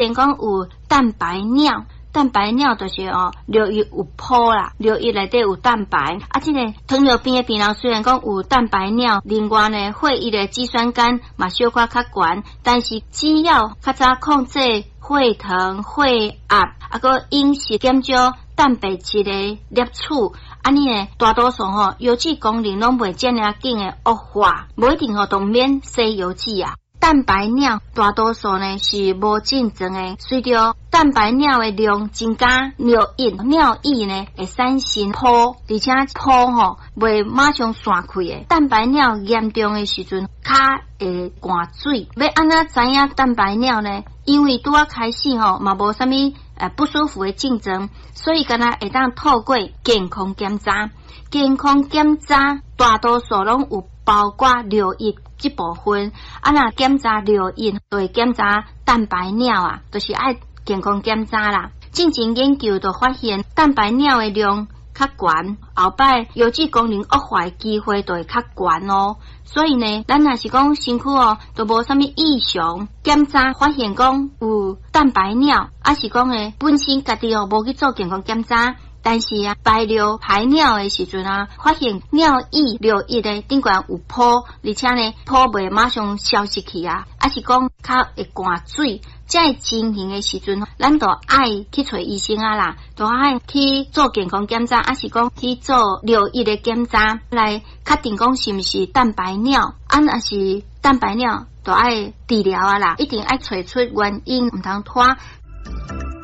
然講有蛋白尿，蛋白尿就是哦，尿液有泡啦，尿液內底有蛋白。啊，這个糖尿病的病人雖然講有蛋白尿，另外呢，血液的肌酸酐嘛小可較懸，但是只要較早控制血糖、血壓，啊，閣飲食減少蛋白質的攝取，按呢呢，大多數吼腰子功能攏袂遮爾仔緊的惡化，無一定吼都毋免洗腰子啊。蛋白尿大多數呢是無症狀的，隨著蛋白尿的量增加，尿液呢會產生泡，而且泡吼袂馬上散開的。蛋白尿嚴重的時陣，跤會灌水。欲按怎知影蛋白尿呢？因為拄仔開始吼嘛無啥物不舒服的症狀，所以敢若會當透過健康檢查。健康檢查大多數攏有包括尿液這部分，啊，若檢查尿液，就會檢查蛋白尿啊，就是愛健康檢查啦。進前研究就發現，蛋白尿的量較懸，後擺腰子功能惡化的機會就會較懸哦。所以呢，咱若是講身軀哦，都無啥物異常，檢查發現講有蛋白尿，抑是講呢本身家己哦無去做健康檢查。但是啊，排尿排尿的時陣啊，發現尿液的頂懸有泡，而且呢泡袂馬上消失去啊，抑是講較會灌水，這个情形的時陣，咱就愛去揣醫生啊啦，就愛去做健康檢查，抑是講去做尿液的檢查，來確定講是毋是蛋白尿，啊若是蛋白尿，就愛治療啊啦，一定愛揣出原因，毋通拖。